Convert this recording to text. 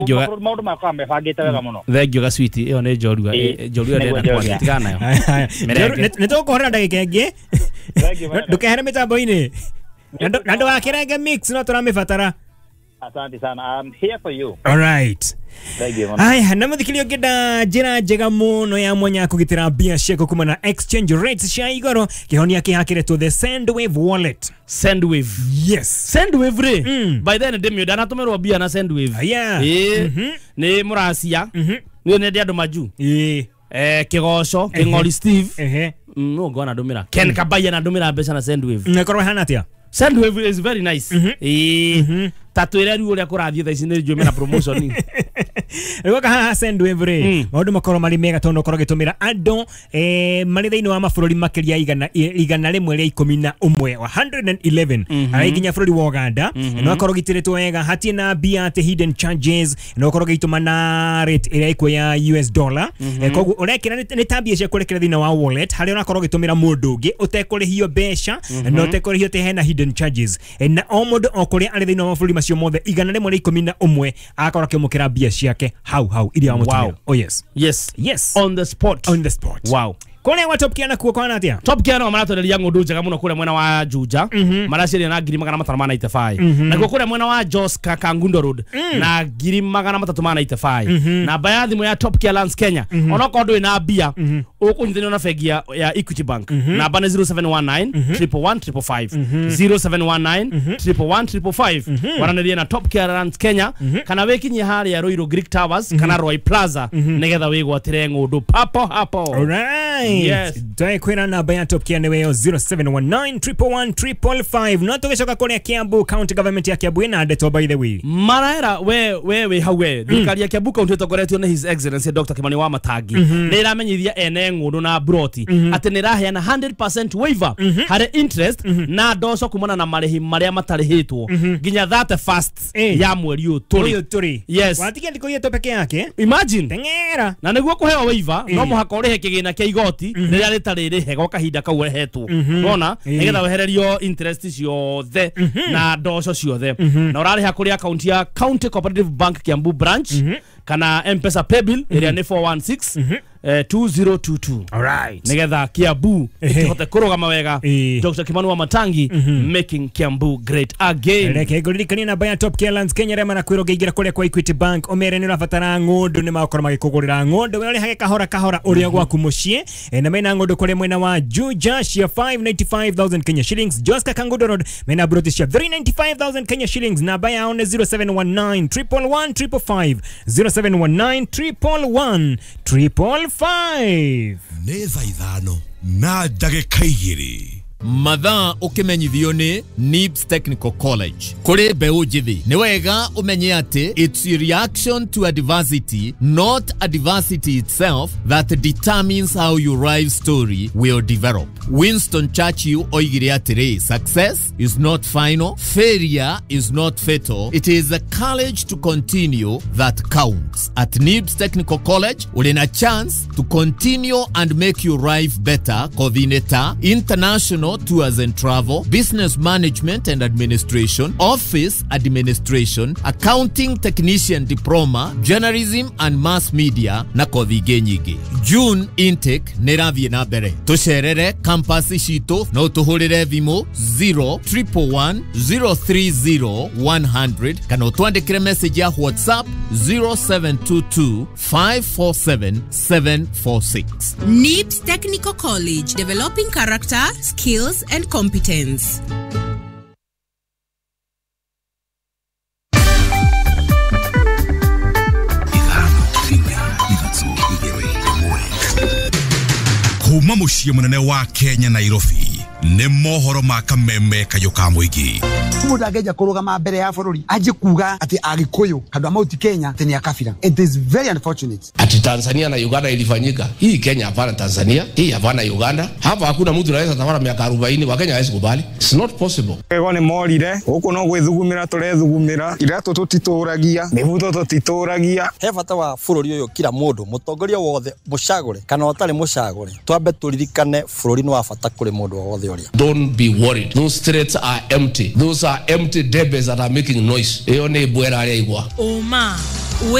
Maũndũ makwa mebangĩte wega mũno. Thank you ga sweet, ĩyo nĩ njorua. Njorua ndĩrenda kwaria, tigana nayo. Mĩrenge. Nĩ tũkũhũrĩra ndagĩka ĩngĩ. Thank you very much. Ndũkehere mĩtambo-inĩ na ndũgakĩrenge mix, no tũramĩbatara. Asante sana. I'm here for you. Alright. Thank you mũno. Aya, na mũthikĩria, ũngĩenda njĩra njega mũno ya mwanya ya kũgitĩra mbia ciaku kuma na exchange rates cia igũrũ, kĩhonia kĩhakĩrĩtwo the Sendwave wallet. Sendwave. Yes. Sendwave rĩ, by then ndĩmĩũ ndanatũmĩrwo mbia na Sendwave. Ĩĩ, nĩ mũracia nĩ nende andũ majuu. Kĩgoco Kĩng'ori Steve. No ngona ndũmĩra Ken Kabaya na ndũmĩra mbeca na Sendwave. Nakorwo hana atĩa? Sendwave is very nice. Ĩĩ, ta twĩre rĩu ũrĩa kũrathiĩ thaa ici, nĩ njũĩ mena promotion. Rĩu oka haha Sendwave rĩ, maũndũ makorwo marĩ mega tondũ ũkorwo ũgĩtũmĩra andũ marĩ thĩinĩ wa mabũrũri makĩria 111, 111, arĩ nginya bũrũri wa Uganda, na ũkorwo ũgitĩrĩtwo wega, hatirĩ na mbia atĩ hidden charges, na ũkorwo ũgĩtũma na rate ĩrĩa ĩkuo ya US dollar. Koguo ũrekĩra nĩ ta mbia cia kũrekera thĩinĩ wa wallet harĩa ũrakorwo ũgĩtũmĩra mũndũ ũngĩ ũtekũrĩhio mbeca na ũtekũrĩhio atĩ hena hidden charges. Na o mũndũ o kũrĩa arĩ thĩinĩ wa mabũrũri macio mothe 111 agakorwo akĩamũkĩra mbia ciake hau hau iria wamũtũmĩra. Oh yes. Yes. Yes. On the spot. On the spot. Kũrĩa gwa Top Gear nakuo kwana atĩa? Top Gear no maratwenderia ng'ũndũ njega mũno kũrĩa mwena wa Juja, maraciendia na 595,000, nakuo kũrĩa mwena wa Joska Kangundo Road na 395,000. Namba ya thimũ ya Top Gear Lands Kenya, onokorwo ndũrĩ na mbia, ũkũnyithanio na bengi ya Equity Bank, namba nĩ 0719 111 555, 0719 111 555. Waranĩrie na Top Gear Lands Kenya kana wĩkinyie harĩa Ruiru Greek Towers kana Roy Plaza nĩgetha wĩgwatĩre ng'ũndũ papo hapo. Alright. Yes. Twakwĩra namba ya Top Gear nĩweyo 0719 111 555. No tũgĩcoka kũrĩa Kiambu, county government ya Kiambu ĩna ndeto, by the way. Maraera we we hau we, thirikari ya Kiambu County ĩtongoretio nĩ His Excellency Dr. Kimani wa Matangi nĩ ĩramenyithia ene ng'ũndũ na broti atĩ nĩ ĩraheana 100% waiver harĩ interest na ndoco kumana na marĩhi marĩa matarĩhĩtwo nginya 31st ya mweri ũyũ tũrĩ. Ũyũ tũrĩ. Yes. Watigia thikũ ithatũ peke yake. Imagine. Teng'era. Na nĩguo kũheo waiver no mũhaka ũrĩhe kĩgĩna kĩa igoti rĩrĩa rĩtarĩ rĩhe gwa kahinda kau ũrehetwo, wona, nĩgetha wehererio interest ciothe na ndoco ciothe, na ũrarĩha kũrĩ akaunti ya County Cooperative Bank Kiambu branch kana M-Pesa paybill ĩrĩa nĩ 416 2022, Alright. nĩgetha Kiambu ĩkĩhote kũrũgama wega. Dr. Kimani wa Matangi, making Kiambu great again. Reke ngũririkanie namba ya Top Care Lands Kenya arĩa marakwĩrwo ũngĩingĩra kũrĩa kwa Equity Bank ũmere nĩ ũrabatara ng'ũndũ, nĩ magũkorwo magĩkũgũrĩra ng'ũndũ, we ũrĩhage kahora kahora ũrĩa gwaku mũciĩ. Na mena ng'ũndũ kũrĩa mwena wa Juja cia 595,000 Kenya shillings, Joska Kangundo Road mena broti cia 395,000 Kenya shillings. Namba yao nĩ 0719 111 555, 0719 111 555. Nĩ thaa 5:02. Mathaa ũkĩmenyithio nĩ NIBS Technical College kũrĩ mbeũ njĩthĩ, nĩ wega ũmenye atĩ it's a reaction to adversity, not adversity itself, that determines how your life story will develop. Winston Churchill oigire atĩrĩ, "Success is not final, failure is not fatal, it is the courage to continue that counts." At NIBS Technical College ũrĩ na chance to continue and make your life better, kothi-inĩ ta international tours and travel, business management and administration, office administration, accounting technician diploma, journalism and mass media na kothi ingĩ nyingĩ. June intake nĩ ĩrathiĩ na mbere. Tũcerere campus citũ, no tũhũrĩre thimũ 0 111 030 100 kana ũtwandĩkĩre message ya WhatsApp 0722 547 746. NIBS Technical College, developing character, skills, and competence. 5, 4, 3, 2, 1. Kuma mũciĩ mũnene wa Kenya, Nairobi, nĩ mohoro ma kameme kayũ ka mũingĩ. Mundu angĩanjia kũrũgama mbere ya bũrũri anjie kuga atĩ Agĩkũyũ handũ a Mount Kenya atĩ nĩ a kabira, it is very unfortunate. Ati Tanzania na Uganda ilifanyika. Hii Kenya hapana Tanzania, hii hapana Uganda. Hapa hakuna mtu anaweza tawala miaka 40, Wakenya hawezi kubali. It's not possible. Ego nĩ morire gũkũ no gwĩthugumĩra tũrethugumĩra, iratũ tũtitũragia, mĩbuto tũtitũragia. He bata wa bũrũri ũyũ, kila mũndũ mũtongoria wothe mũcagũre kana ũtarĩ mũcagũre, twambe tũririkane bũrũri nĩ wa bata kũrĩ mũndũ o wothe. ũrĩa. Don't be worried. Those threats are empty. Those are empty debes that are making noise. Iyo ni bwera aria igwa. Ũma.